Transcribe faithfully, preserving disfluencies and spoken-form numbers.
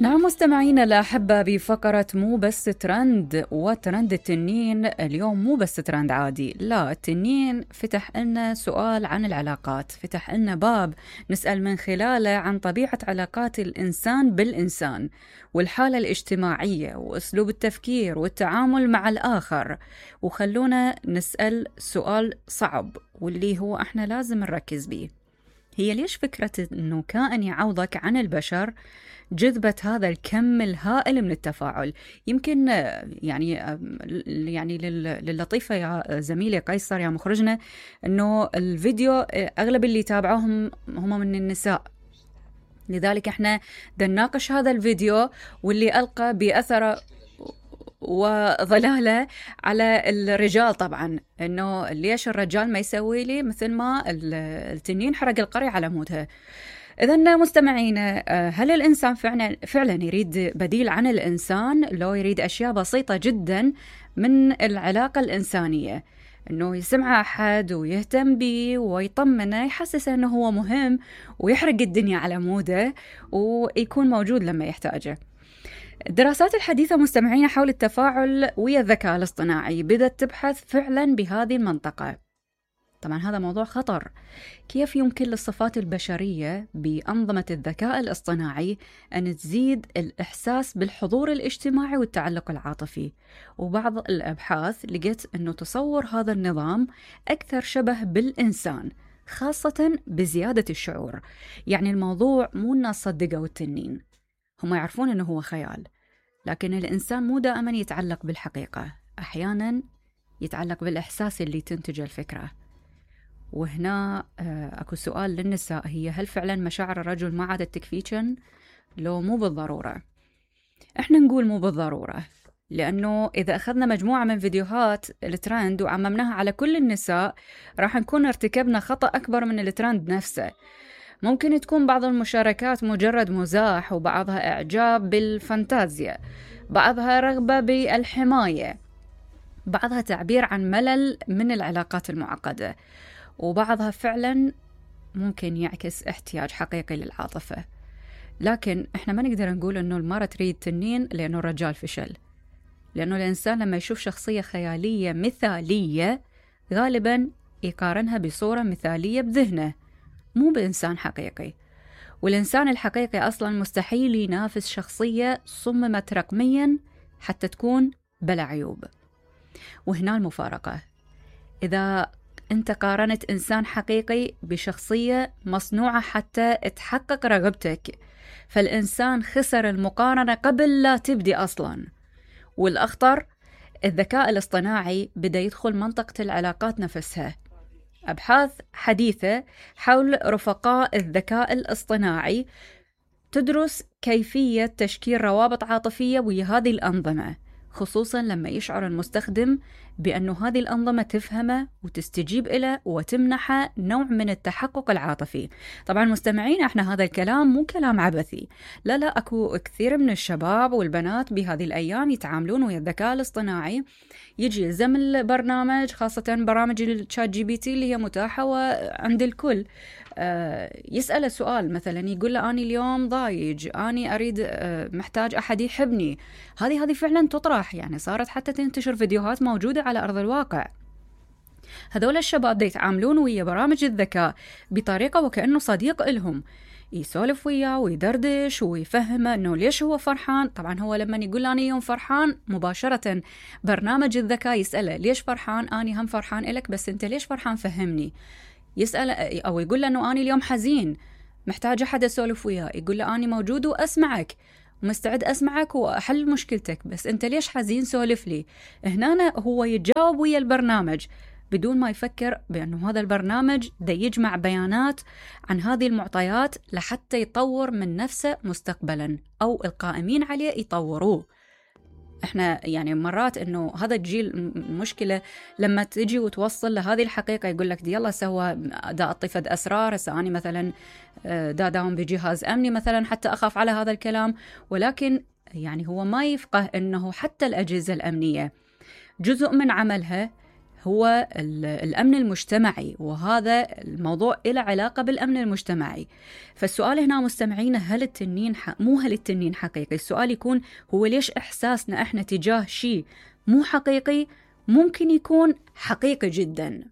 نعم مستمعينا الأحبة، بفقرة مو بس ترند وترند التنين. اليوم مو بس ترند عادي، لا، التنين فتح لنا سؤال عن العلاقات، فتح لنا باب نسأل من خلاله عن طبيعة علاقات الإنسان بالإنسان والحالة الاجتماعية وأسلوب التفكير والتعامل مع الآخر. وخلونا نسأل سؤال صعب واللي هو احنا لازم نركز بيه، هي ليش فكرة أنه كائن يعوضك عن البشر جذبت هذا الكم الهائل من التفاعل؟ يمكن يعني يعني للطيفة يا زميلي قيصر يا مخرجنا أنه الفيديو أغلب اللي تابعوهم هم من النساء، لذلك احنا دناقش هذا الفيديو واللي ألقى بأثر وظلالة على الرجال. طبعا انه ليش الرجال ما يسوي لي مثل ما التنين حرق القرية على مودها. إذن مستمعينا، هل الإنسان فعلا فعلا يريد بديل عن الإنسان؟ لو يريد أشياء بسيطة جدا من العلاقة الإنسانية، إنه يسمع أحد ويهتم به ويطمنه، يحسسه إنه هو مهم ويحرق الدنيا على موده ويكون موجود لما يحتاجه. الدراسات الحديثة مستمعين حول التفاعل ويا الذكاء الاصطناعي بدأت تبحث فعلا بهذه المنطقة. طبعا هذا موضوع خطر. كيف يمكن للصفات البشرية بأنظمة الذكاء الاصطناعي أن تزيد الإحساس بالحضور الاجتماعي والتعلق العاطفي؟ وبعض الأبحاث لقيت أنه تصور هذا النظام أكثر شبه بالإنسان، خاصة بزيادة الشعور. يعني الموضوع مو الناس صدقوا التنين، هم يعرفون أنه هو خيال، لكن الإنسان مو دائما يتعلق بالحقيقة، أحيانا يتعلق بالإحساس اللي تنتج الفكرة. وهنا أكو سؤال للنساء، هي هل فعلا مشاعر الرجل ما عادت تكفيكن؟ لو مو بالضرورة. احنا نقول مو بالضرورة، لأنه إذا أخذنا مجموعة من فيديوهات الترند وعممناها على كل النساء راح نكون ارتكبنا خطأ أكبر من الترند نفسه. ممكن تكون بعض المشاركات مجرد مزاح، وبعضها إعجاب بالفانتازيا، بعضها رغبة بالحماية، بعضها تعبير عن ملل من العلاقات المعقدة، وبعضها فعلا ممكن يعكس احتياج حقيقي للعاطفة. لكن احنا ما نقدر نقول انه المرأة تريد تنين لانه الرجال فشل، لانه الانسان لما يشوف شخصية خيالية مثالية غالبا يقارنها بصورة مثالية بذهنه، مو بإنسان حقيقي. والإنسان الحقيقي أصلا مستحيل ينافس شخصية صممت رقميا حتى تكون بلا عيوب. وهنا المفارقة، إذا أنت قارنت إنسان حقيقي بشخصية مصنوعة حتى تحقق رغبتك، فالإنسان خسر المقارنة قبل لا تبدي أصلا. والأخطر، الذكاء الاصطناعي بدأ يدخل منطقة العلاقات نفسها. أبحاث حديثة حول رفقاء الذكاء الاصطناعي تدرس كيفية تشكيل روابط عاطفية ويا هذه الأنظمة، خصوصا لما يشعر المستخدم بأنه هذه الأنظمة تفهمه وتستجيب إليه وتمنحه نوع من التحقق العاطفي. طبعا مستمعين، احنا هذا الكلام مو كلام عبثي، لا لا، أكو كثير من الشباب والبنات بهذه الأيام يتعاملون ويا الذكاء الاصطناعي. يجي يلزم البرنامج، خاصة برامج الشات جي بي تي اللي هي متاحة وعند الكل، آه يسأل سؤال مثلا، يقول له أنا اليوم ضايج، أنا أريد آه محتاج أحد يحبني. هذه هذه فعلا تطرح، يعني صارت حتى تنتشر فيديوهات موجودة على أرض الواقع. هذول الشباب يتعاملون ويا برامج الذكاء بطريقة وكأنه صديق إلهم، يسولف وياه ويدردش ويفهمه أنه ليش هو فرحان. طبعا هو لما يقول أنا يوم فرحان، مباشرة برنامج الذكاء يسأله ليش فرحان؟ أنا هم فرحان إلك، بس أنت ليش فرحان؟ فهمني. يسأل أو يقول له أنه أنا اليوم حزين محتاج أحد أسولف وياه، يقول له أنا موجود وأسمعك ومستعد أسمعك وأحل مشكلتك، بس أنت ليش حزين؟ سولف لي. هنا هو يتجاوب ويا البرنامج بدون ما يفكر بأنه هذا البرنامج دا يجمع بيانات عن هذه المعطيات لحتى يطور من نفسه مستقبلا، أو القائمين عليه يطوروه. احنا يعني مرات انه هذا الجيل مشكلة لما تجي وتوصل لهذه الحقيقة، يقول لك دي يلا سوى دا اطفد اسرار، سأني مثلا دا داوم بجهاز امني مثلا حتى اخاف على هذا الكلام. ولكن يعني هو ما يفقه انه حتى الاجهزة الامنية جزء من عملها هو الأمن المجتمعي، وهذا الموضوع له علاقة بالأمن المجتمعي. فالسؤال هنا مستمعين، هل التنين ح... مو هل التنين حقيقي، السؤال يكون هو ليش إحساسنا إحنا تجاه شيء مو حقيقي ممكن يكون حقيقي جدا.